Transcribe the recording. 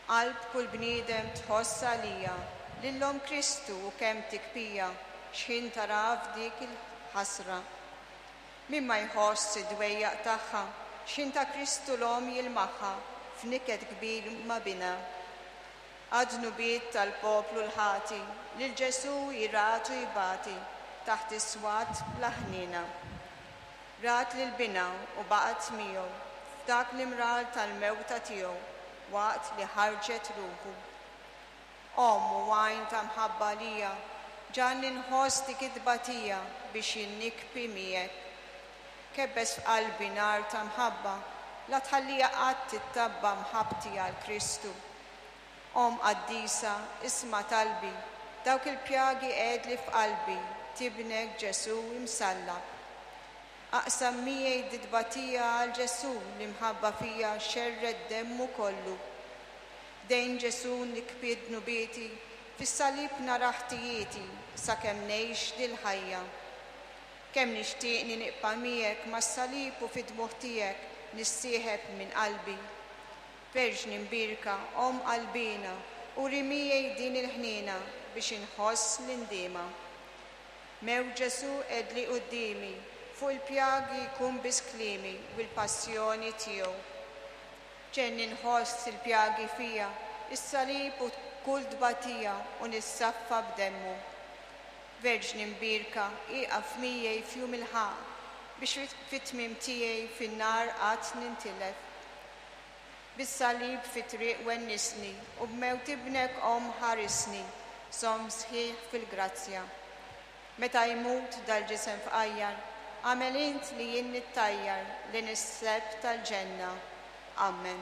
Qalb kull bniedem tħoss għalija lil Omm Kristu u kemm tikpija x'ħin taraha f'dik il-ħasra. Min ma jħoss id-dwejjaq tagħha x'ħin ta' Kristu l-Omm jilmaħha f'niket kbir ma' binha. Għad-dnubiet tal-poplu l-ħati lil Ġesù hi ratu jbati taħt is-swat bla ħniena. Rat lil binha u baqgħet miegħu f'dak l-imrar tal-mewta tiegħu waqt li ħarġet ruħu. Omm u għajn ta' mħabba għalija, ġagħalni nħoss dik it-tbatija biex jien nikbi miegħek. Kebbes f'qalbi nar ta' mħabba, la tħalliha qatt tittabba' mħabbti għal Kristu. Omm qaddisa, isma' talbi, dawk il-pjagi qegħedli f'qalbi t'Ibnek Ġesù imsallab. Aqsam miegħi dit-tbatija għal Ġesù li mħabba fija xerred demmu kollu. Ħdejn Ġesù nikbi dnubieti, fis-salib nara ħtijieti sakemm ngħix dil-ħajja. Kemm nixtieqni nibqa' miegħek mas-salib u fid-dmugħ tiegħek nissieħeb minn qalbi. Verġni mbierka, Omm qalbiena, uri miegħi din il-ħniena biex inħoss l-indiema. Mewt Ġesù qegħdli quddiemi, fuq il-pjagi jkun biss kliemi u l-passjoni tiegħu. Ġenni nħoss il-pjagi fija, is-salib u kull tbatija u nissaffa b'demmu. Verġni mbierka, ieqaf miegħi f'jum il-ħaqq biex fit-tmiem tiegħi fin-nar qatt nintilef. Bis-salib fit-triq wennisni u b'mewt Ibnek Omm ħarisni, żomm sħiħ fil-grazzja. Meta jmut dal-ġisem fqajjar, agħmel int li jien nittajjar lejn is-sebħ tal-ġenna. Ammen.